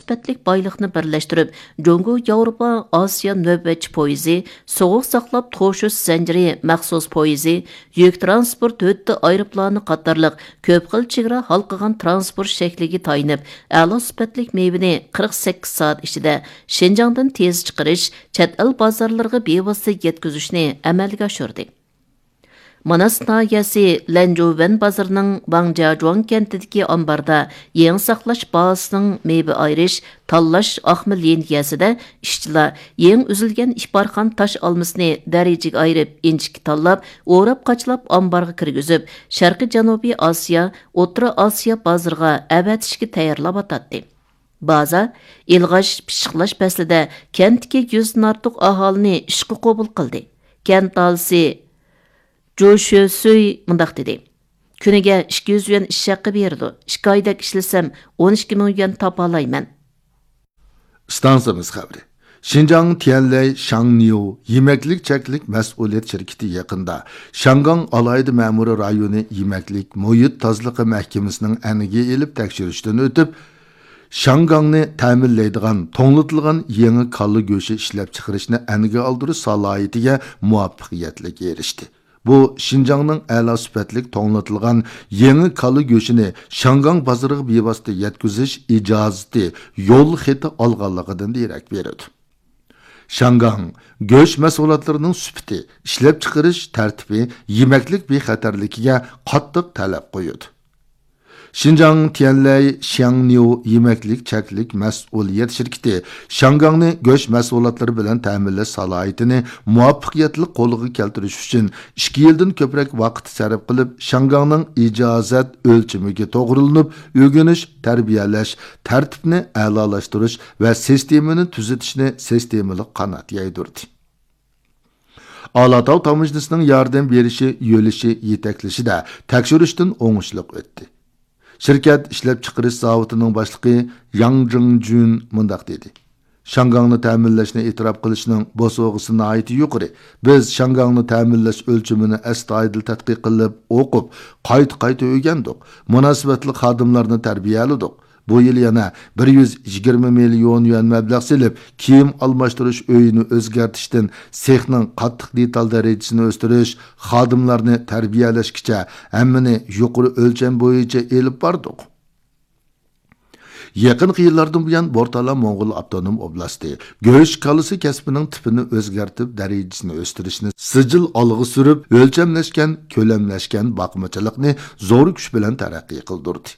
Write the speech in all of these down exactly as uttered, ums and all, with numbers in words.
سۈپەتلىك بايلىقنى بىرلەشتۈرۈپ، جۇڭگو ياۋروپا ئاسىيا نۆۋەتچى پويىزى، سوغۇق ساقلاپ توشۇش زەنجىرى مەخسۇس پويىزى، يۈك تىرانسپورت ھۆددە ئايروپىلانى قاتارلىق كۆپ خىل چېگرا ھالقىغان تىرانسپورت شەكلىگە تايىنىپ، ئەلا سۈپەتلىك مېۋىنى قىرىق سەككىز سائەت ئىچىدە شىنجاڭدىن تېز چىقىرىش، چەت ئەل بازارلىرىغا بىۋاسىتە يەتكۈزۈشنى ئەمەلگە ئاشۇردى. ماناس ناھىيەسى لەنجۇۋەن بازىرىنىڭ ۋاڭجياجۇاڭ كەنتىدىكى ئامباردا يېڭى ساقلاش بازىسىنىڭ مېۋە ئايرىش، تاللاش ئاقما لىنىيەسىدە ئىشچىلار يېڭى ئۈزۈلگەن ئىپارخان تاش ئالمىسىنى دەرىجىگە ئايرىپ، ئىنچىكە تاللاپ، ئوراپ-قاچىلاپ ئامبارغا كىرگۈزۈپ، شەرقىي جەنۇبىي ئاسىيا، ئوتتۇرا ئاسىيا بازىرىغا ئەۋەتىشكە تەييارلاۋاتاتتى. بازا ئىلغاش، پىششىقلاش پەسلىدە كەنتتىكى يۈزدىن ئارتۇق ئاھالىنى ئىشقا قوبۇل قىلدى. كەنت ئاھالىسى جۇ شۆسۈي مۇنداق دېدى: «كۈنىگە ئىككى يۈز يۈەن ئىش ھەققى بېرىدۇ. ئىككى ئايدەك ئىشلىسەم، ئون ئىككى مىڭ يۈەن تاپالايمەن.» ئىستانسىمىز خەۋىرى. شىنجاڭ تيەنلەي شاڭنيۇ يېمەكلىك چەكلىك مەسئۇلىيەت شىركىتى يېقىندا شياڭگاڭ ئالاھىدە مەمۇرىي رايونى يېمەكلىك مۇھىت تازىلىقى مەھكىمىسىنىڭ ئەنگە ئېلىپ تەكشۈرۈشتىن ئۆتۈپ، شياڭگاڭنى تەمىنلەيدىغان توڭلىتىلغان يېڭى كالا گۆشى ئىشلەپچىقىرىشنى ئەنگە ئالدۇرۇش سالاھىيىتىگە مۇۋەپپەقىيەتلىك ئېرىشتى. بۇ شىنجاڭنىڭ ئەلا سۈپەتلىك توڭلىتىلغان يېڭى كالا گۆشىنى شياڭگاڭ بازىرىغا بىۋاسىتە يەتكۈزۈش ئىجازىتى يول خېتى ئالغانلىقىدىن دېرەك بېرىدۇ. شياڭگاڭ گۆش مەھسۇلاتلىرىنىڭ سۈپىتى، ئىشلەپچىقىرىش تەرتىپى يېمەكلىك بىخەتەرلىكىگە قاتتىق تەلەپ قويىدۇ. شىنجاڭ تيەنلەي شياڭنيۇ يېمەكلىك چەكلىك مەسئۇلىيەت شىركىتى شياڭگاڭنى گۆش مەھسۇلاتلىرى بىلەن تەمىنلەش سالاھىيىتىنى مۇۋەپپەقىيەتلىك قولغا كەلتۈرۈش ئۈچۈن ئىككى يىلدىن كۆپرەك ۋاقىت سەرپ قىلىپ، شياڭگاڭنىڭ ئىجازەت ئۆلچىمىگە توغرىلىنىپ، ئۆگىنىش، تەربىيەلەش تەرتىپىنى ئەلالاشتۇرۇش ۋە سىستېمىنى تۈزىتىشنى سىستېمىلىق قانات يايدۇردى. ئالاتاۋ تاموژنىسىنىڭ ياردەم بېرىشى، يۆلىشى، يېتەكلىشىدە تەكشۈرۈشتىن ئوڭۇشلۇق ئۆتتى. شىركەت ئىشلەپچىقىرىش زاۋۇتىنىڭ باشلىقى ياڭ جىڭجۈن مۇنداق دېدى: «شياڭگاڭنى تەمىنلەشنى ئېتىراپ قىلىشنىڭ بوسۇغىسى ناھايىتى يۇقىرى. بىز شياڭگاڭنى تەمىنلەش ئۆلچىمىنى ئەستايىدىل تەتقىق قىلىپ، ئوقۇپ، قايتا-قايتا ئۆگەندۇق. مۇناسىۋەتلىك خادىملارنى تەربىيەلىدۇق. بۇ يىل يەنە بىر يۈز يىگىرمە مىليون يۈەن مەبلەغ سېلىپ، كىيىم ئالماشتۇرۇش ئۆيىنى ئۆزگەرتىشتىن سېخنىڭ قاتتىق دېتال دەرىجىسىنى ئۆستۈرۈش، خادىملارنى تەربىيەلەشكىچە ھەممىنى يۇقىرى ئۆلچەم بويىچە ئېلىپ باردۇق.» يېقىنقى يىللاردىن بۇيان، بورتالا موڭغۇل ئاپتونوم ئوبلاستى گۆش كالىسى كەسپىنىڭ تىپىنى ئۆزگەرتىپ، دەرىجىسىنى ئۆستۈرۈشنى سىجىل ئالغا سۈرۈپ، ئۆلچەملەشكەن، كۆلەملەشكەن باقمىچىلىقنى زور كۈچ بىلەن تەرەققىي قىلدۇردى.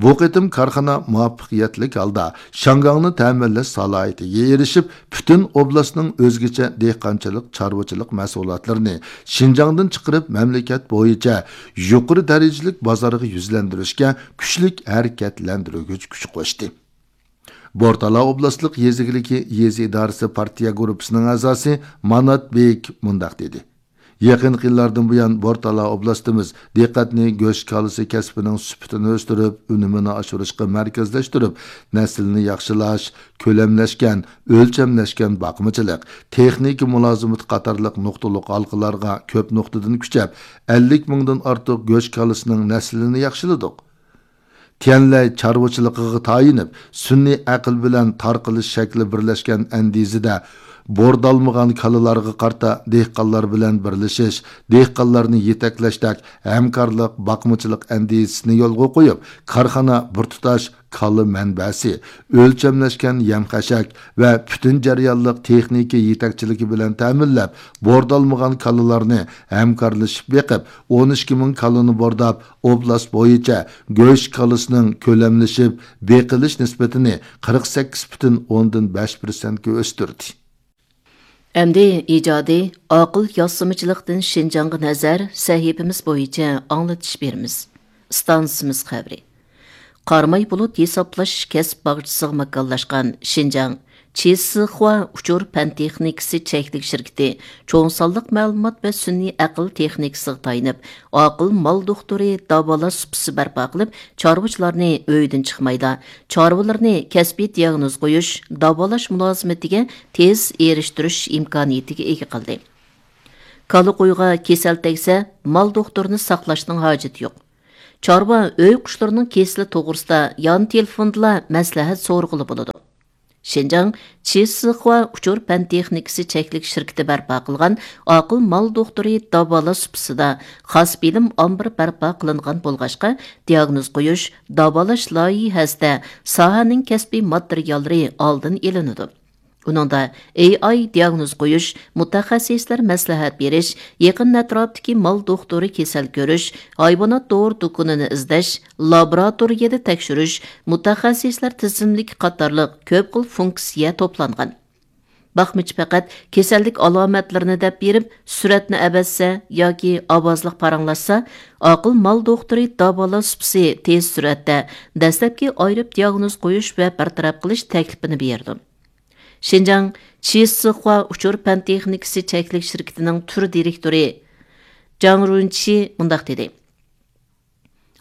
بۇ قېتىم كارخانا مۇۋەپپەقىيەتلىك ھالدا شياڭگاڭنى تەمىنلەش سالاھىيىتىگە ئېرىشىپ، پۈتۈن ئوبلاستنىڭ ئۆزگىچە دېھقانچىلىق، چارۋىچىلىق مەھسۇلاتلىرىنى شىنجاڭدىن چىقىرىپ، مەملىكەت بويىچە يۇقىرى دەرىجىلىك بازارغا يۈزلەندۈرۈشكە كۈچلۈك ھەرىكەتلەندۈرگۈچ كۈچ قوشتى. بورتالا ئوبلاستلىق يېزا ئىگىلىكى يېزا ئىدارىسى پارتىيە گۇرۇپپىسىنىڭ ئەزاسى مانات بېيىك مۇنداق دېدى: «يېقىنقى يىللاردىن بۇيان، بورتالا ئوبلاستىمىز دىققەتنى گۆش كالىسى كەسپىنىڭ سۈپىتىنى ئۆستۈرۈپ، ئۈنۈمىنى ئاشۇرۇشقا مەركەزلەشتۈرۈپ، نەسىلنى ياخشىلاش، كۆلەملەشكەن، ئۆلچەملەشكەن باقمىچىلىق، تېخنىكا مۇلازىمىتى قاتارلىق نۇقتىلىق ھالقىلارغا كۆپ نۇقتىدىن كۈچەپ، ئەللىك مىڭدىن ئارتۇق گۆش كالىسىنىڭ نەسلىنى ياخشىلىدۇق. تيەنلەي چارۋىچىلىقىغا تايىنىپ، سۈنئىي ئەقىل بىلەن تارقىلىش شەكلى بىرلەشكەن ئەندىزىدە، بوردالمىغان كالىلارغا قارىتا دېھقانلار بىلەن بىرلىشىش، دېھقانلارنى يېتەكلەشتەك ھەمكارلىق، باقمىچىلىق ئەندىزىسىنى يولغا قويۇپ، كارخانا بىر تۇتاش كالا مەنبەسى، ئۆلچەملەشكەن يەم-خەشەك ۋە پۈتۈن جەريانلىق تېخنىكا يېتەكچىلىكى بىلەن تەمىنلەپ، بوردالمىغان كالىلارنى ھەمكارلىشىپ بېقىپ، ئون ئىككى مىڭ كالىنى بورداپ، ئوبلاست بويىچە گۆش كالىسىنىڭ كۆلەملىشىپ بېقىلىش نىسبىتىنى قىرىق سەككىز پۈتۈن ئوندىن بەش پىرسەنتكە ئۆستۈردى. ئەمدى ئىجادىي، ئاقىل ياسىمىچىلىقتىن شىنجاڭغا نەزەر سەھىپىمىز بويىچە ئاڭلىتىش بېرىمىز. ئىستانسىمىز خەۋىرى. قاراماي بۇلۇت ھېسابلاش كەسىپ باغچىسىغا ماكانلاشقان شىنجاڭ چىسىخۇا ئۇچۇر پەن تېخنىكىسى چەكلىك شىركىتى چوڭ سانلىق مەلۇمات ۋە سۈنئىي ئەقىل تېخنىكىسىغا تايىنىپ، ئاقىل مال دوختۇرى داۋالاش سۇپىسى بەرپا قىلىپ، چارۋىچىلارنى ئۆيدىن چىقمايلا، چارۋىلىرىنى كەسپىي دىياگنوز قويۇش، داۋالاش مۇلازىمىتىگە تېز ئېرىشتۈرۈش ئىمكانىيىتىگە ئىگە قىلدى. كالا قويغا كېسەل تەگسە، مال دوختۇرىنى ساقلاشنىڭ ھاجىتى يوق. چارۋا ئۆي قۇشلىرىنىڭ كېسىلى توغرىسىدا يان تېلېفوندىلا مەسلىھەت سورىغىلى بولىدۇ. شىنجاڭ چىسىخۇا ئۇچۇر پەن تېخنىكىسى چەكلىك شىركىتى بەرپا قىلغان ئاقىل مال دوختۇرى داۋالاش سۇپىسىدا خاس بىلىم ئامبىرى بەرپا قىلىنغان بولغاچقا، دىياگنوز قويۇش، داۋالاش لايىھەسىدە ساھەنىڭ كەسپىي ماتېرىياللىرى ئالدىن ئېلىنىدۇ. ئۇنىڭدا ئېي ئاي دىياگنوز قويۇش، مۇتەخەسسىسلەر مەسلىھەت بېرىش، يېقىن ئەتراپتىكى مال دوختۇرى كېسەل كۆرۈش، ھايۋانات دورا دۇكىنىنى ئىزدەش، لابوراتورىيەدە تەكشۈرۈش، مۇتەخەسسىسلەر تىزىملىكى قاتارلىق كۆپ خىل فۇنكسىيە توپلانغان. باقمىچى پەقەت كېسەللىك ئالامەتلىرىنى دەپ بېرىپ، سۈرەتنى ئەۋەتسە ياكى ئاۋازلىق پاراڭلاشسا، ئاقىل مال دوختۇرى داۋالاش سۇپىسى تېز سۈرئەتتە دەسلەپكى ئايرىپ دىياگنوز قويۇش ۋە بىر تەرەپ قىلىش تەكلىپىنى بېرىدۇ. شىنجاڭ چىسىخۇا ئۇچۇر پەن تېخنىكىسى چەكلىك شىركىتىنىڭ تۈر دىرېكتورى جاڭ رۇنچى مۇنداق دېدى: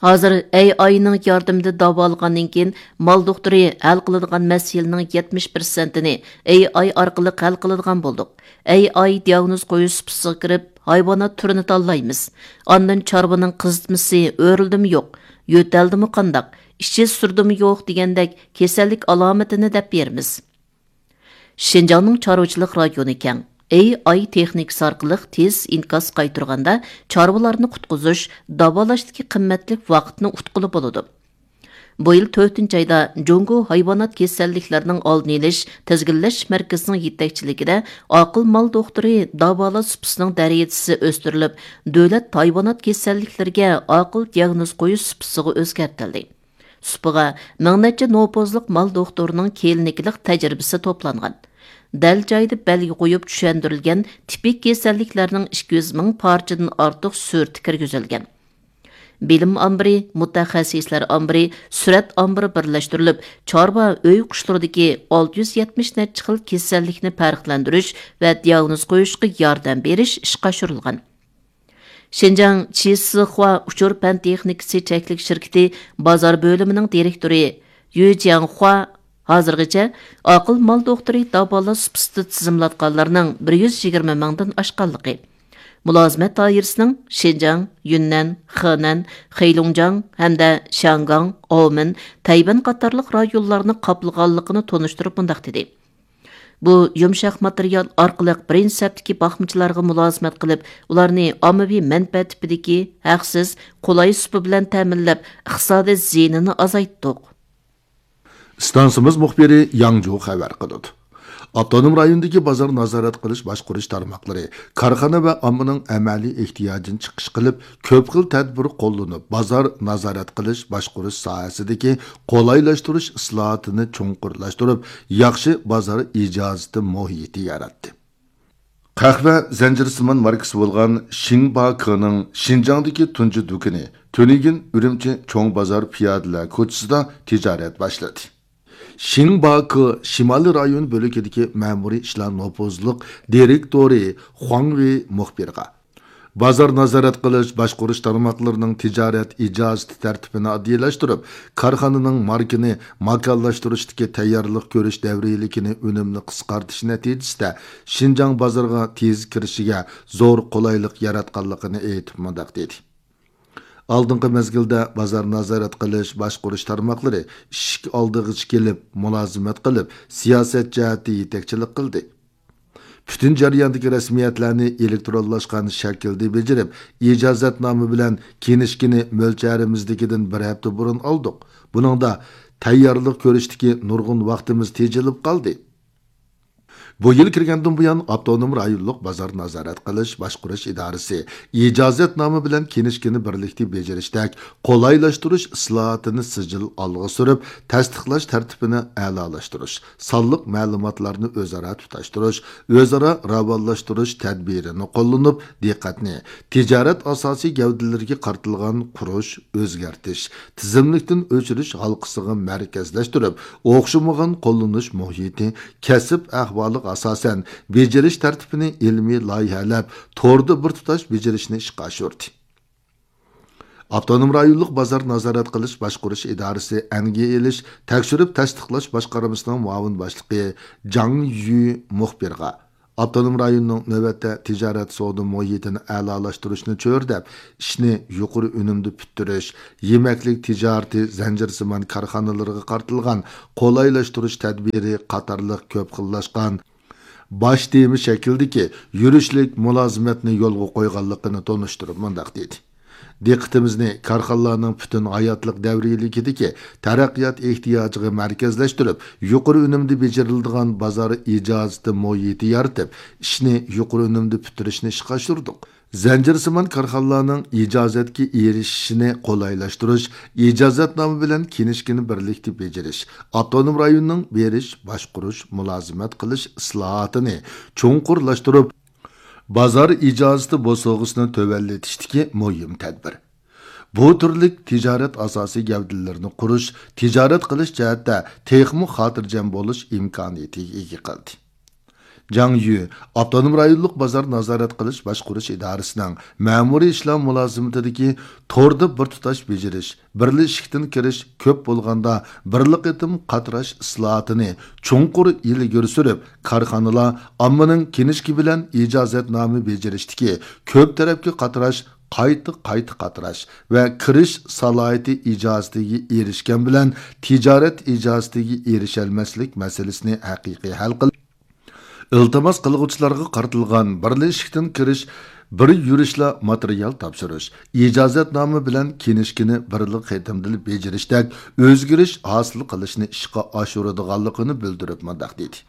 ھازىر ئەي ئاينىڭ ياردىمىدە داۋالىغاندىن كېيىن، مال دوختۇرى ھەل قىلىدىغان مەسىلىنىڭ يەتمىش پىرسەنتىنى ئەي ئاي ئارقىلىق ھەل قىلىدىغان بولدۇق. ئەي ئاي دىياگنوز قويۇش سۇپىسىغا كىرىپ، ھايۋانات تۈرىنى تاللايمىز. ئاندىن چارۋىنىڭ قىزىتمىسى ئۆرۈلدىمۇ يوق، يۆتەلدىمۇ قانداق، ئىچى سۈردىمۇ يوق دېگەندەك كېسەللىك ئالامىتىنى دەپ بېرىمىز. شىنجاڭنىڭ چارۋىچىلىق رايونى كەڭ. ئېي ئاي تېخنىكىسى ئارقىلىق تېز ئىنكاس قايتۇرغاندا، چارۋىلارنى قۇتقۇزۇش، داۋالاشتىكى قىممەتلىك ۋاقىتنى ئۇتقىلى بولىدۇ. بۇ يىل تۆتىنچى ئايدا جۇڭگو ھايۋانات كېسەللىكلەرنىڭ ئالدىنى ئېلىش، تىزگىنلەش مەركىزىنىڭ يېتەكچىلىكىدە ئاقىل مال دوختۇرى داۋالاش سۇپىسىنىڭ دەرىجىسى ئۆستۈرۈلۈپ، دۆلەت ھايۋانات كېسەللىكلىرىگە ئاقىل دىياگنوز قويۇش سۇپىسىغا ئۆزگەرتىلدى. سۇپىغا مىڭ نەچچە نوپۇزلۇق مال دوختۇرىنىڭ كىلىنىكىلىق تەجرىبىسى توپلانغان. دەل جايىدا بەلگە قويۇپ چۈشەندۈرۈلگەن تىپىك كېسەللىكلەرنىڭ ئىككى يۈز مىڭ پارچىدىن ئارتۇق سۈرىتى كىرگۈزۈلگەن. بىلىم ئامبىرى، مۇتەخەسسىسلەر ئامبىرى، سۈرەت ئامبىرى بىرلەشتۈرۈلۈپ، چارۋا ئۆي قۇشلىرىدىكى ئالتە يۈز يەتمىش نەچچە خىل كېسەللىكنى پەرقلەندۈرۈش ۋە دىياگنوز قويۇشقا ياردەم بېرىش ئىشقا ئاشۇرۇلغان. شىنجاڭ چىسىخۇا ئۇچۇر پەن تېخنىكىسى چەكلىك شىركىتى بازار بۆلۈمىنىڭ دىرېكتورى يۈ جياڭخۇا ھازىرغىچە ئاقىل مال دوختۇرى داۋالاش سۇپىسىدا تىزىملاتقانلارنىڭ بىر يۈز يىگىرمە مىڭدىن ئاشقانلىقى، مۇلازىمەت دائىرىسىنىڭ شىنجاڭ، يۈننەن، خېنەن، خېيلۇڭجياڭ ھەمدە شياڭگاڭ، ئاۋمېن، تەيۋەن قاتارلىق رايونلارنى قاپلىغانلىقىنى تونۇشتۇرۇپ مۇنداق دېدى: بۇ يۇمشاق ماتېرىيال ئارقىلىق بىرىنچى سەپتىكى باقمىچىلارغا مۇلازىمەت قىلىپ، ئۇلارنى ئاممىۋى مەنپەئەت تىپىدىكى، ھەقسىز، قولاي سۇپا بىلەن تەمىنلەپ، ئىقتىسادىي زىيىنىنى ئازايتتۇق. ئىستانسىمىز مۇخبىرى ياڭجۇ خەۋەر قىلىدۇ. ئاپتونوم رايوندىكى بازار نازارەت قىلىش باشقۇرۇش تارماقلىرى كارخانا ۋە ئاممىنىڭ ئەمەلىي ئېھتىياجىنى چىقىش قىلىپ، كۆپ خىل تەدبىر قوللىنىپ، بازار نازارەت قىلىش باشقۇرۇش ساھەسىدىكى قولايلاشتۇرۇش ئىسلاھاتىنى چوڭقۇرلاشتۇرۇپ، ياخشى بازار ئىجازىتى مۇھىتى ياراتتى. قەھۋە زەنجىرسىمان ماركىسى بولغان شىڭباكېنىڭ شىنجاڭدىكى تۇنجى دۇكىنى تۈنۈگۈن ئۈرۈمچى چوڭ بازار پىيادىلەر كوچىسىدا تىجارەت باشلىدى. شىڭباكې شىمالىي رايون بۆلىكىدىكى مەمۇرىي ئىشلار نوپۇزلۇق دىرېكتورى خۇاڭ ۋېي مۇخبىرغا، بازار نازارەت قىلىش باشقۇرۇش تارماقلىرىنىڭ تىجارەت ئىجازىتى تەرتىپىنى ئاددىيلاشتۇرۇپ، كارخانىنىڭ ماركىنى ماكانلاشتۇرۇشتىكى تەييارلىق كۆرۈش دەۋرىيلىكىنى ئۈنۈملۈك قىسقارتىش نەتىجىسىدە شىنجاڭ بازىرىغا تېز كىرىشىگە زور قولايلىق ياراتقانلىقىنى ئېيتىپ مۇنداق دېدى. ئالدىنقى مەزگىلدە بازار نازارەت قىلىش باشقۇرۇش تارماقلىرى ئىشىك ئالدىغىچە كېلىپ، مۇلازىمەت قىلىپ، سىياسەت جەھەتتە يېتەكچىلىك قىلدى. پۈتۈن جەرياندىكى رەسمىيەتلەرنى ئېلېكترونلاشقان شەكىلدە بېجىرىپ، ئىجازەتنامە بىلەن كىنىشكىنى مۆلچەرىمىزدىكىدىن بىر ھەپتە بۇرۇن ئالدۇق. بۇنىڭدا تەييارلىق كۆرۈشتىكى نۇرغۇن ۋاقتىمىز تېجىلىپ قالدى. بۇ يىل كىرگەندىن بۇيان، ئاپتونوم رايونلۇق بازار نازارەت قىلىش باشقۇرۇش ئىدارىسى ئىجازەتنامە بىلەن كىنىشكىنى بىرلىكتە بېجىرىشتەك قولايلاشتۇرۇش ئىسلاھاتىنى سىجىل ئالغا سۈرۈپ، تەستىقلاش تەرتىپىنى ئەلالاشتۇرۇش، سانلىق مەلۇماتلارنى ئۆزئارا تۇتاشتۇرۇش، ئۆزئارا راۋانلاشتۇرۇش تەدبىرىنى قوللىنىپ، دىققەتنى تىجارەت ئاساسىي گەۋدىلىرىگە قارىتىلغان قۇرۇش، ئۆزگەرتىش، تىزىملىكتىن ئۆچۈرۈش ھالقىسىغا مەركەزلەشتۈرۈپ، ئوخشىمىغان قوللىنىش مۇھىتى، كەسىپ ئەھۋالىغا ئاساسەن بېجىرىش تەرتىپىنى ئىلمىي لايىھەلەپ، توردا بىر تۇتاش بېجىرىشنى ئىشقا ئاشۇردى. ئاپتونوم رايونلۇق بازار نازارەت قىلىش باشقۇرۇش ئىدارىسى ئەنگە ئېلىش تەكشۈرۈپ تەستىقلاش باشقارمىسىنىڭ مۇئاۋىن باشلىقى جاڭ يۈ مۇخبىرغا، ئاپتونوم رايوننىڭ نۆۋەتتە تىجارەت سودا مۇھىتىنى ئەلالاشتۇرۇشنى چۆرىدەپ، ئىشنى يۇقىرى ئۈنۈمدە پۈتتۈرۈش، يېمەكلىك تىجارىتى زەنجىرسىمان كارخانىلىرىغا قارىتىلغان قولايلاشتۇرۇش تەدبىرى قاتارلىق كۆپ خىللاشقان باش تېما شەكلىدىكى يۈرۈشلۈك مۇلازىمەتنى يولغا قويغانلىقىنى تونۇشتۇرۇپ مۇنداق دېدى: دىققىتىمىزنى كارخانىلارنىڭ پۈتۈن ھاياتلىق دەۋرىيلىكىدىكى تەرەققىيات ئېھتىياجىغا مەركەزلەشتۈرۈپ، يۇقىرى ئۈنۈمدە بېجىرىلىدىغان بازار ئىجازىتى مۇھىتى يارىتىپ، ئىشنى يۇقىرى ئۈنۈمدە پۈتتۈرۈشنى ئىشقا ئاشۇردۇق. زەنجىرسىمان كارخانىلارنىڭ ئىجازەتكە ئېرىشىشىنى قولايلاشتۇرۇش، ئىجازەتنامە بىلەن كىنىشكىنى بىرلىكتە بېجىرىش، ئاپتونوم رايوننىڭ بېرىش، باشقۇرۇش، مۇلازىمەت قىلىش ئىسلاھاتىنى چوڭقۇرلاشتۇرۇپ، بازار ئىجازىتى بوسۇغىسىنى تۆۋەنلىتىشتىكى مۇھىم تەدبىر. بۇ تۈرلۈك تىجارەت ئاساسىي گەۋدىلىرىنى قۇرۇش، تىجارەت قىلىش جەھەتتە تېخىمۇ خاتىرجەم بولۇش ئىمكانىيىتىگە ئىگە قىلدى. جاڭ يۈ، ئاپتونوم رايونلۇق بازار نازارەت قىلىش باشقۇرۇش ئىدارىسىنىڭ مەمۇرىي ئىشلار مۇلازىمىتىدىكى توردا بىر تۇتاش بېجىرىش، بىرلا ئىشىكتىن كىرىش، كۆپ بولغاندا بىرلا قېتىم قاتراش ئىسلاھاتىنى چوڭقۇر ئىلگىرى سۈرۈپ، كارخانىلار ئاممىنىڭ كىنىشكا بىلەن ئىجازەتنامە بېجىرىشتىكى كۆپ تەرەپكە قاتراش، قايتا، قايتا قاتراش ۋە كىرىش سالاھىيىتى ئىجازىتىگە ئېرىشكەن بىلەن تىجارەت ئىجازىتىگە ئېرىشەلمەسلىك مەسىلىسىنى ھەقىقىي ھەل قىلىش، ئىلتىماس قىلغۇچىلارغا قارىتىلغان بىرلا ئىشىكتىن كىرىش، بىر يۈرۈشلا ماتېرىيال تاپشۇرۇش، ئىجازەتنامە بىلەن كىنىشكىنى بىرلا قېتىمدىلا بېجىرىشتەك ئۆزگىرىش ھاسىل قىلىشنى ئىشقا ئاشۇرىدىغانلىقىنى بىلدۈرۈپ مۇنداق دېدى: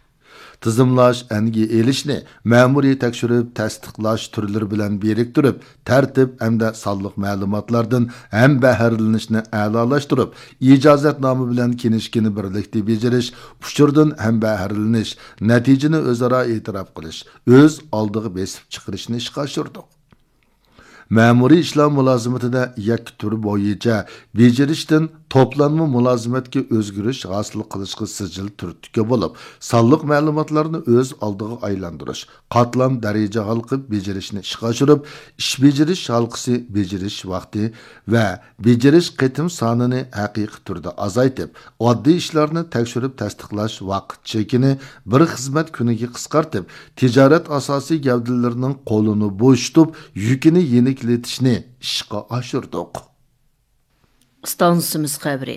تىزىملاش، ئەنگە ئېلىشنى مەمۇرىي تەكشۈرۈپ تەستىقلاش تۈرلىرى بىلەن بىرىكتۈرۈپ، تەرتىپ ھەمدە سانلىق مەلۇماتلاردىن ھەمبەھىرلىنىشنى ئەلالاشتۇرۇپ، ئىجازەتنامە بىلەن كىنىشكىنى بىرلىكتە بېجىرىش، ئۇچۇردىن ھەمبەھىرلىنىش، نەتىجىنى ئۆزئارا ئېتىراپ قىلىش، ئۆز ئالدىغا بېسىپ چىقىرىشنى ئىشقا ئاشۇردۇق. مەمۇرىي ئىشلار مۇلازىمىتىدە يەككە تۈر بويىچە بېجىرىشتىن توپلانما مۇلازىمەتكە ئۆزگىرىش ھاسىل قىلىشقا سىجىل تۈرتكە بولۇپ، سانلىق مەلۇماتلارنى ئۆز ئالدىغا ئايلاندۇرۇش، قاتلام دەرىجە ھالقىپ بېجىرىشنى ئىشقا ئاشۇرۇپ، ئىش بېجىرىش ھالقىسى، بېجىرىش ۋاقتى ۋە بېجىرىش قېتىم سانىنى ھەقىقىي تۈردە ئازايتىپ، ئاددىي ئىشلارنى تەكشۈرۈپ تەستىقلاش ۋاقىت چېكىنى بىر خىزمەت كۈنىگە قىسقارتىپ، تىجارەت ئاساسىي گەۋدىلىرىنىڭ قولىنى بوشىتىپ، يۈكىنى يېنىكلىتىشنى ئىشقا ئاشۇردۇق. ئىستانسىمىز خەۋىرى.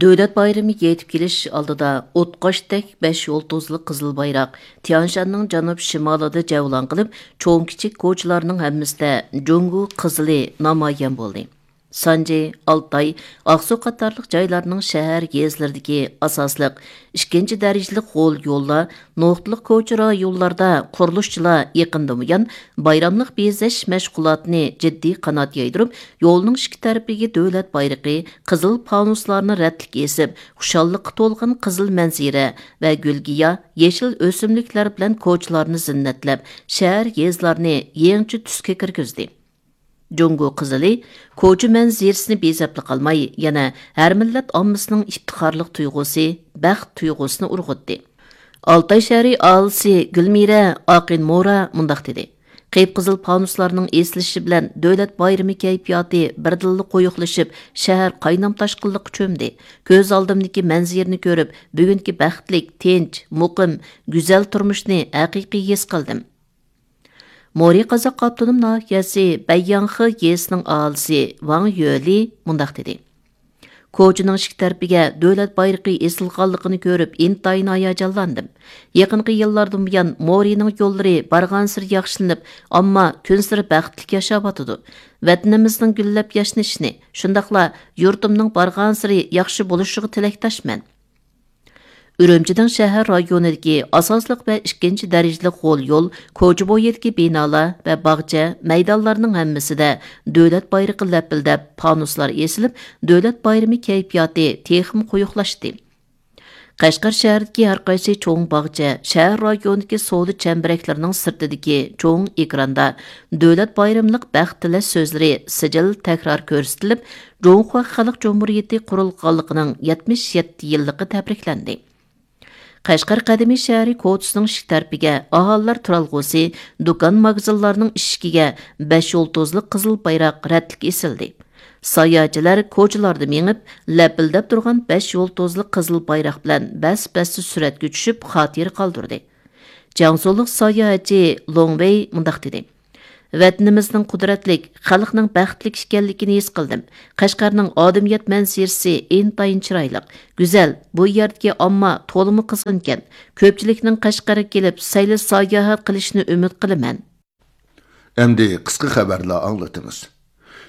دۆلەت بايرىمى يېتىپ كېلىش ئالدىدا ئوتقاشتەك بەش يۇلتۇزلۇق قىزىل بايراق تيانشاننىڭ جەنۇب شىمالىدا جەۋلان قىلىپ، چوڭ كىچىك كوچىلارنىڭ ھەممىسىدە جۇڭگو قىزىلى نامايان بولدى. سانجى، ئالتاي، ئاقسۇ قاتارلىق جايلارنىڭ شەھەر، يېزىلىرىدىكى ئاساسلىق ئىككىنچى دەرىجىلىك غول يوللار، نۇقتىلىق كوچا رايونلاردا قۇرۇلۇشچىلار يېقىندىن بۇيان بايراملىق بېزەش مەشغۇلاتىنى جىددىي قانات يايدۇرۇپ، يولنىڭ ئىككى تەرىپىگە دۆلەت بايرىقى، قىزىل پانۇسلارنى رەتلىك ئېسىپ، خۇشاللىققا تولغان قىزىل مەنزىرە ۋە گۈل-گىياھ، يېشىل ئۆسۈملۈكلەر بىلەن كوچىلارنى زىننەتلەپ، شەھەر، يېزىلارنى يېڭىچە تۈسكە كىرگۈزدى. جۇڭگو قىزىلى كوچا مەنزىرىسىنى بېزەپلا قالماي، يەنە ھەر مىللەت ئاممىسىنىڭ ئىپتىخارلىق تۇيغۇسى، بەخت تۇيغۇسىنى ئۇرغۇتتى. ئالتاي شەھىرى ئاھالىسى گۈلمىرە ئاقىن مورا مۇنداق دېدى: قىپقىزىل پانۇسلارنىڭ ئېسىلىشى بىلەن دۆلەت بايرىمى كەيپىياتى بىردىنلا قويۇقلىشىپ، شەھەر قاينام تاشقىنلىققا چۆمدى. كۆز ئالدىمدىكى مەنزىرىنى كۆرۈپ، بۈگۈنكى بەختلىك، تىنچ، مۇقىم، گۈزەل تۇرمۇشنى ھەقىقىي ھېس قىلدىم. مورى قازاق ئاپتونوم ناھىيەسى بەيياڭخې يېزىسىنىڭ ئاھالىسى ۋاڭ يۆلى مۇنداق دېدى: كوچىنىڭ ئىككى تەرىپىگە دۆلەت بايرىقى ئېسىلغانلىقىنى كۆرۈپ، ئىنتايىن ھاياجانلاندىم. يېقىنقى يىللاردىن بۇيان مورىنىڭ يوللىرى بارغانسېرى ياخشىلىنىپ، ئامما كۈنسېرى بەختلىك ياشاۋاتىدۇ. ۋەتىنىمىزنىڭ گۈللەپ ياشنىشىنى، شۇنداقلا يۇرتۇمنىڭ بارغانسېرى ياخشى بولۇشىغا تىلەكداشمەن. ئۈرۈمچىنىڭ شەھەر رايونىدىكى ئاساسلىق ۋە ئىككىنچى دەرىجىلىك غول يول، كوچا بويىدىكى بىنالار ۋە باغچە، مەيدانلارنىڭ ھەممىسىدە دۆلەت بايرىقى لەپىلدەپ، پانۇسلار ئېسىلىپ، دۆلەت بايرىمى كەيپىياتى تېخىمۇ قويۇقلاشتى. قەشقەر شەھىرىدىكى ھەر قايسى چوڭ باغچە، شەھەر رايونىدىكى سودا چەمبىرەكلىرىنىڭ سىرتىدىكى چوڭ ئېكراندا دۆلەت بايرىملىق بەخت تىلەش سۆزلىرى سىجىل تەكرار كۆرسىتىلىپ، جۇڭخۇا خەلق جۇمھۇرىيىتى قۇرۇلغانلىقىنىڭ يەتمىش يەتتە يىللىقى تەبرىكلەندى. قەشقەر قەدىمىي شەھىرى كوچىسىنىڭ ئىشىك تەرىپىگە ئاھالىلەر تۇرالغۇسى، دۇكان، ماگىزىنلارنىڭ ئىشىكىگە بەش يۇلتۇزلۇق قىزىل بايراق رەتلىك ئېسىلدى. ساياھەتچىلەر كوچىلاردا مېڭىپ، لەپىلدەپ تۇرغان بەش يۇلتۇزلۇق قىزىل بايراق بىلەن بەس-بەستە سۈرەتكە چۈشۈپ، خاتىرە قالدۇردى. جياڭسۇلۇق ساياھەتچى لوڭ ۋېي مۇنداق دېدى: ۋەتىنىمىزنىڭ قۇدرەتلىك، خەلقنىڭ بەختلىك ئىكەنلىكىنى ھېس قىلدىم. قەشقەرنىڭ ئادەمىيەت مەنزىرىسى ئىنتايىن چىرايلىق، گۈزەل، بۇ يەردىكى ئامما تولىمۇ قىزغىنكەن. كۆپچىلىكنىڭ قەشقەرگە كېلىپ سەيلە ساياھەت قىلىشىنى ئۈمىد قىلىمەن. ئەمدى قىسقا خەۋەرلەر ئاڭلىتىمىز.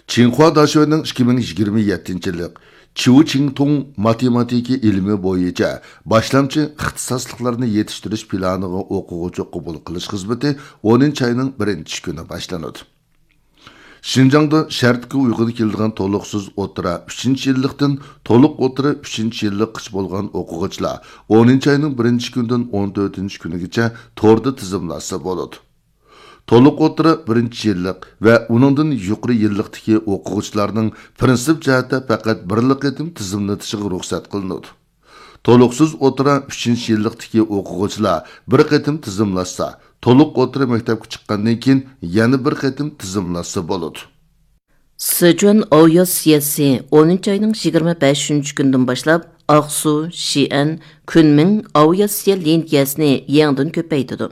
چىڭخۇا داشۆنىڭ ئىككى مىڭ يىگىرمە يەتتىنچى يىللىق چيۇ چىڭتۇڭ ماتېماتىكا ئىلمى بويىچە باشلامچى ئىختىساسلىقلارنى يېتىشتۈرۈش پىلانىغا ئوقۇغۇچى قوبۇل قىلىش خىزمىتى ئونىنچى ئاينىڭ بىرىنچى كۈنى باشلىنىدۇ. شىنجاڭدا شەرتكە ئۇيغۇن كېلىدىغان تولۇقسىز ئوتتۇرا ئۈچىنچى يىللىقتىن تولۇق ئوتتۇرا ئۈچىنچى يىللىققىچە بولغان ئوقۇغۇچىلار ئونىنچى ئاينىڭ بىرىنچى كۈنىدىن ئون تۆتىنچى كۈنىگىچە توردا تىزىملاتسا بولىدۇ. تولۇق ئوتتۇرا بىرىنچى يىللىق ۋە ئۇنىڭدىن يۇقىرى يىللىقتىكى ئوقۇغۇچىلارنىڭ پىرىنسىپ جەھەتتە پەقەت بىرلا قېتىم تىزىملىتىشىغا رۇخسەت قىلىنىدۇ. تولۇقسىز ئوتتۇرا ئۈچىنچى يىللىقتىكى ئوقۇغۇچىلار بىر قېتىم تىزىملاتسا، تولۇق ئوتتۇرا مەكتەپكە چىققاندىن كېيىن يەنە بىر قېتىم تىزىملاتسا بولىدۇ. سىچۈەن ئاۋىئاتسىيەسى ئونىنچى ئاينىڭ يىگىرمە بەشىنچى كۈنىدىن باشلاپ ئاقسۇ، شىئەن، كۈنمىڭ ئاۋىئاتسىيە لىنىيەسىنى يېڭىدىن كۆپەيتىدۇ.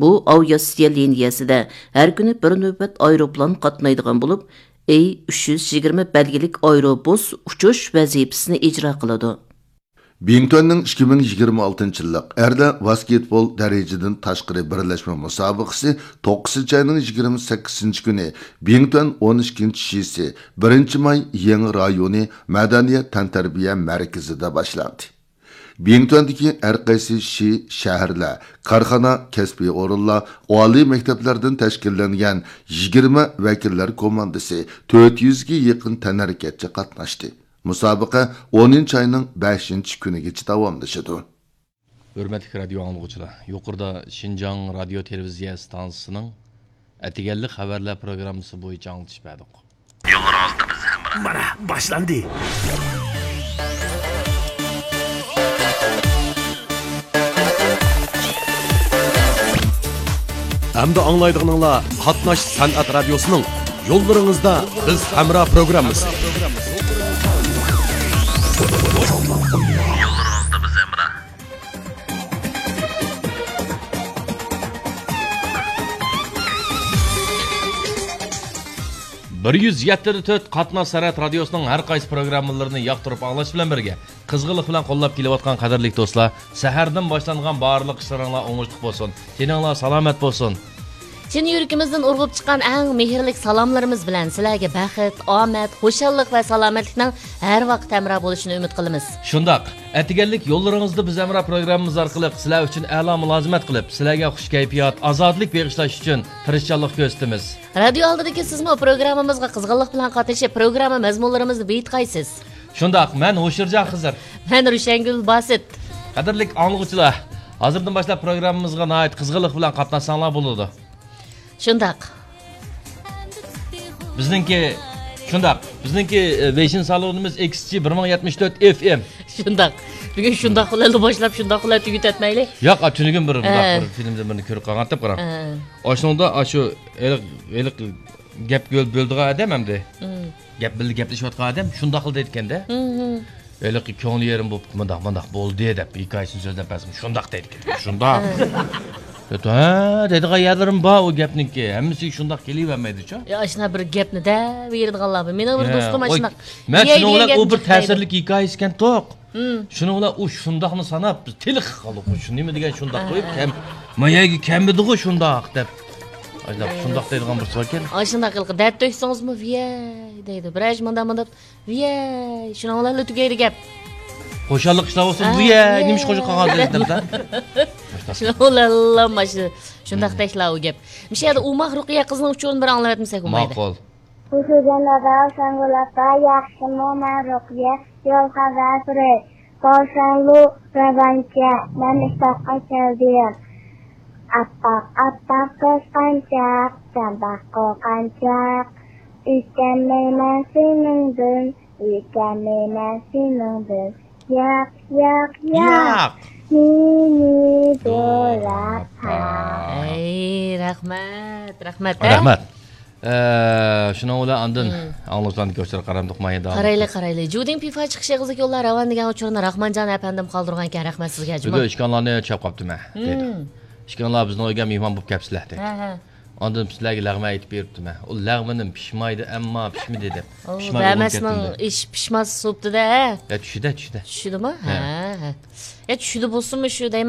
بۇ ئاۋىئاتسىيە لىنىيەسىدە ھەر كۈنى بىر نۆۋەت ئايروپىلان قاتنايدىغان بولۇپ، ئېي ئۈچ يۈز يىگىرمە بەلگىلىك ئايروبۇس ئۇچۇش ۋەزىپىسىنى ئىجرا قىلىدۇ. بىڭتۈەننىڭ ئىككى مىڭ يىگىرمە ئالتىنچى يىللىق ئەرلەر ۋاسكېتبول دەرىجىدىن تاشقىرى بىرلەشمە مۇسابىقىسى توققۇزىنچى ئاينىڭ يىگىرمە سەككىزىنچى كۈنى بىڭتۈەن ئون ئىككىنچى شىسى بىرىنچى ماي يېڭى رايونى مەدەنىيەت تەنتەربىيە مەركىزىدە باشلاندى. بىڭتۈەندىكى ھەر قايسى شى، شەھەرلەر، كارخانا، كەسپىي ئورۇنلار، ئالىي مەكتەپلەردىن تەشكىللەنگەن يىگىرمە ۋەكىللەر كوماندىسى تۆت يۈزگە يېقىن تەنھەرىكەتچى قاتناشتى. مۇسابىقە ئونىنچى ئاينىڭ بەشىنچى كۈنىگىچە داۋاملىشىدۇ. ھۆرمەتلىك رادىيو ئاڭلىغۇچىلار، يۇقىرىدا شىنجاڭ رادىيو تېلېۋىزىيە ئىستانسىسىنىڭ ئەتىگەنلىك خەۋەرلەر پروگراممىسى بويىچە ئاڭلىتىش بەردۇق. يوللىرىڭىزدا بىز ھەمراھ. مانا، باشلاندى. ئەمدى ئاڭلايدىغىنىڭلار قاتناش سەنئەت رادىيوسىنىڭ يوللىرىڭىزدا بىز ھەمراھ پروگراممىسى. يوللىرىڭىزدا بىز ھەمراھ. بىر يۈز يەتتە دە تۆت قاتناش سەنئەت رادىيوسىنىڭ ھەر قايسى پروگراممىلىرىنى ياقتۇرۇپ ئاڭلاش بىلەن بىرگە، قىزغىنلىق بىلەن قوللاپ كېلىۋاتقان قەدىرلىك دوستلار، سەھەردىن باشلانغان بارلىق ئىشلىرىڭلار ئوڭۇشلۇق بولسۇن، تېنىڭلار سالامەت بولسۇن. چىن يۈرىكىمىزدىن ئۇرغۇپ چىققان ئەڭ مېھىرلىك سالاملىرىمىز بىلەن سىلەرگە بەخت، ئامەت، خۇشاللىق ۋە سالامەتلىكنىڭ ھەر ۋاقىت ھەمراھ بولۇشىنى ئۈمىد قىلىمىز. شۇنداق، ئەتىگەنلىك يوللىرىڭىزدا بىز ھەمراھ پروگراممىمىز ئارقىلىق سىلەر ئۈچۈن ئەلا مۇلازىمەت قىلىپ، سىلەرگە خۇش كەيپىيات، ئازادىلىك بېغىشلاش ئۈچۈن تىرىشچانلىق كۆرسىتىمىز. رادىيو ئالدىدىكى سىزمۇ پروگراممىمىزغا قىزغىنلىق بىلەن قاتنىشىپ، پروگرامما مەزمۇنلىرىمىزنى بېيىتقايسىز. شۇنداق، مەن ھوشۇرجان خىزىر. مەن روشەنگۈل باسىت. قەدىرلىك ئاڭلىغۇچىلار، ھازىردىن باشلاپ پروگراممىمىزغا ناھايىتى قىزغىنلىق بىلەن قاتناشساڭلار بولىدۇ. شۇنداق. بىزنىڭكى، شۇنداق، بىزنىڭكى، ئە، ۋېيشىن سالونىمىز ئېكس جى بىر مىڭ يەتمىش تۆت ئېف ئېم. شۇنداق. بۈگۈن شۇنداق بىلەنلا باشلاپ، شۇنداق بىلەن تۈگىتەتمەيلى. ياق، تۈنۈگۈن بىر مۇنداق، ھە، بىر فىلىمدە بىرنى كۆرۈپ قالغانتىم، قاراڭ. ھە. ئاشۇنىڭدا ئاشۇ ھېلىق، ھېلىق گەپ بۆل-، بۆلىدىغان ئادەم ئەمدى. مم. گەپ بىللە گەپلىشىۋاتقان ئادەم شۇنداقلا دەيدىكەن-دە. مم. ھېلىقى كۆڭلى يېرىم بولۇپ، مۇنداق، مۇنداق بولدى دەپ ھېكايىسىنى سۆزلەپ بەرسىمۇ، شۇنداق دەيدىكەن. شۇنداق. ھە. ھە، دەيدىغان يەرلىرىم بار ئۇ گەپنىڭكى. ھەممىسىگە شۇنداق كېلىۋەرمەيدۇچۇ. يا، ئاشۇنداق بىر گەپنى دەۋېرىدىغانلار بار. مېنىڭ بىر يا، دوستۇم ئوي، ئاشۇنداق. مەن شۇنىڭ بىلەن ئۇ بىر تەسىرلىك ھېكايە ئىكەن توق. مم. شۇنىڭ بىلەن ئۇ شۇنداقنى ساناپ، بىز تېلىقىپ قالدۇق. ئۇ شۇ نېمە دېگەن شۇنداق قويۇپ، ھە. كەم-، ما يەرگە كەممىدىغۇ شۇنداق دەپ. ئاشۇنداق، ھە. شۇنداق دەيدىغان بىرسى باركەن. ئاشۇنداق ھېلىقى دەرد تۆكسىڭىزمۇ، ۋىيەي دەيدۇ. بىرەر مۇنداق، مۇنداق، ۋىيەي، شۇنىڭ بىلەنلا تۈگەيدۇ گەپ. خۇشاللىق ئىشلار بولسۇن، ھە، ۋىيەي، ۋىيەي. نېمە ئىش خۇشال قالغان دەپ. شۇنىڭ بىلەنلا ماشۇ، شۇنداق دەيدىلا ئۇ گەپ. مۇشۇ يەردە ئوماق رۇقىيە قىزنىڭ ئۇچۇرىنى بىر ئاڭلاۋەتمىسەك بولمايدۇ. ماقۇل. خۇشۇ جانابىڭ سەنگۈل ئاپا، ياخشىمۇ؟ مەن رۇقىيە، يول خەۋەرسىرى. بولساڭلۇ راۋانچە، مەن ئىشتاققا كەلدىم. ئاپئاق، ئاپئاق قىزغانچاق، سەن باققۇ قانچاق. ئۆتەلمەيمەن سېنىڭدىن، ئۆتەلمەيمەن سېنىڭدىن. ياق، ياق، ياق. ياق. مېنى دوراپ قال. ئەي، رەھمەت، رەھمەت، ھە؟ رەھمەت. ئە، شۇنىڭ بىلەن ئاندىن مم. ئاڭلىغۇچىلاردىكى ئۇچۇرغا قارامدۇق، ماھىر داۋام. قارايلى، قارايلى. جۇدىڭ پىفا چىقىش ئېغىزلىك يوللار راۋان دېگەن ئۇچۇرنى راخمانجان ئەپەندىم قالدۇرغانىكەن، رەھمەت سىزگە، جۇما. بۈگۈن ئىككى ئانىلارنى چاپ قاپتىمەن، دەيدۇ. مم. ئىككىڭلار بىزنىڭ ئۆيگە مېھمان بولۇپ كەپسىلەر دەيدۇ. ھە ھە. ئاندىن سىلەرگە لەغمەن ئېيتىپ بېرىپتىمەن. ئۇ لەغمىنىم پىشمايدۇ، ئەمما پىشمىدى دەپ. ئۇ پىشماي بولۇپ بەمەسنىڭ كەتتىم دەپ. ئېشى پىشماس سوپتىدە ھە. يا چۈشىدە، چۈشىدە. چۈشىدىمۇ؟ ھە. ھە ھە. يا چۈشىدە بولسىمۇ شۇ دەيمەن.